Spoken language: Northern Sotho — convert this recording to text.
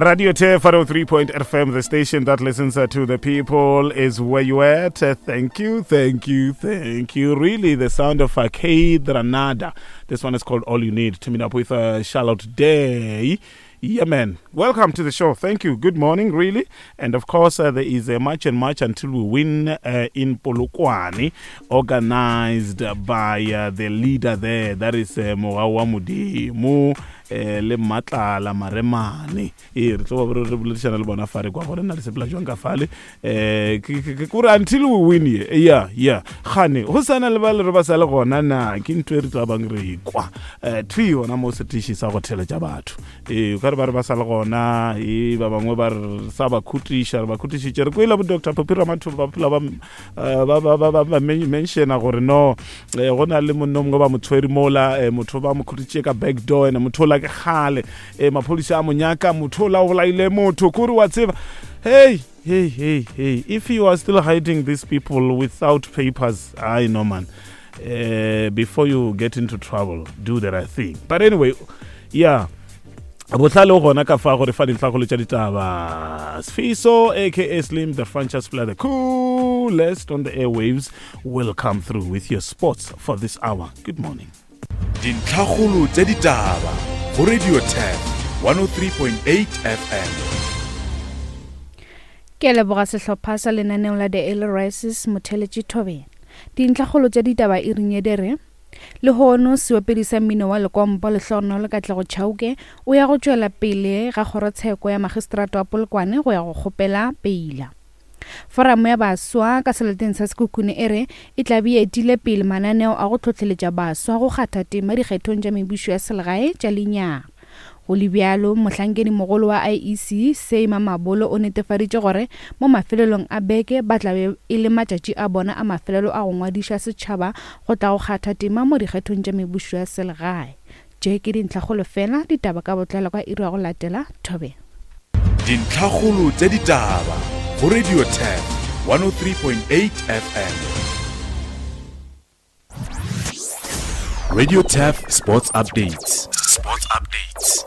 Radio Turf 103.8 FM, the station that listens uh, to the people, is where you at. Uh, thank you, thank you, thank you. Really, the sound of uh, Kaytranada. This one is called All You Need. Teaming up with uh, Charlotte Day. Yeah, man. Welcome to the show. Thank you. Good morning, really. And of course, uh, there is a march and march until we win uh, in Polokwane, organized by uh, the leader there, that is uh, Mogawa Modimo eh, le Matlala Maremane. Ee, re tlo ba re boledišana le bona fare kwa gore na le sepela jwang ka fale. Eh, ke kore until we win ye. Yeah, yeah. Gane, go sana le ba le re ba sa le gona na ke ntho e re tla bang re ikwa. Eh, thwi gona mo setiši sa go theletša batho. Ee, o ka re ba re ba sa le gona, ee, ba bangwe ba re sa ba khutiša, re ba khutišitše. Re kwele bo Doctor Phophi Ramathuba ba phela ba eh, ba ba ba ba ba mentiona gore no eh, go na le monna mongwe ba mo tshwere mola eh, motho ba mo khutitše ka back door ene motho ola ke kgale eh, maphodisa a mo nyaka motho ola o bolaile motho kore wa tseba hey hey hey hey if you are still hiding these people without papers i know man uh, before you get into trouble do the right thing but anyway yeah bohlale o gona ka fa gore fa dintlhakgolo tša ditaba sfiso aka slim the franchise player the coolest on the airwaves will come through with your sports for this hour good morning Dintlhakgolo tša ditaba go Radio Turf 103.8 FM. Ke a leboga sehlopha sa lenaneo la The Early Rises Motheletši Thobela. Dintlhakgolo tša ditaba e ring ye di re, Lehono seopedi sa mmino wa lekompo Lehlogonolo Katlego Chauke o ya go tšwela pele ga kgorotsheko ya magistrata wa Polokwane go ya go kgopela peila. Foramo ya Baswa ka seleteng sa Sekhukhune e re e tla be e etile pele mananeo a go hlohleletša baswa go kgatha tema dikgethong tša mebušo ya selegae tša lenyaga. Go le bjalo, mohlankedimogolo wa IEC, Say Mamabolo o netefaditše gore mo mafelelong a beke ba tla be e le matšatši a bona a mafelelo a go ngwadiša setšhaba go tla go kgatha tema mo dikgethong tša mebušo ya selegae. Tše ke dintlhakgolo fela, ditaba ka botlalo ka iri ya go latela. Thobela. Dintlhakgolo tša ditaba go Radio Turf 103.8 FM. Radio Turf Sports Updates. Sports Updates.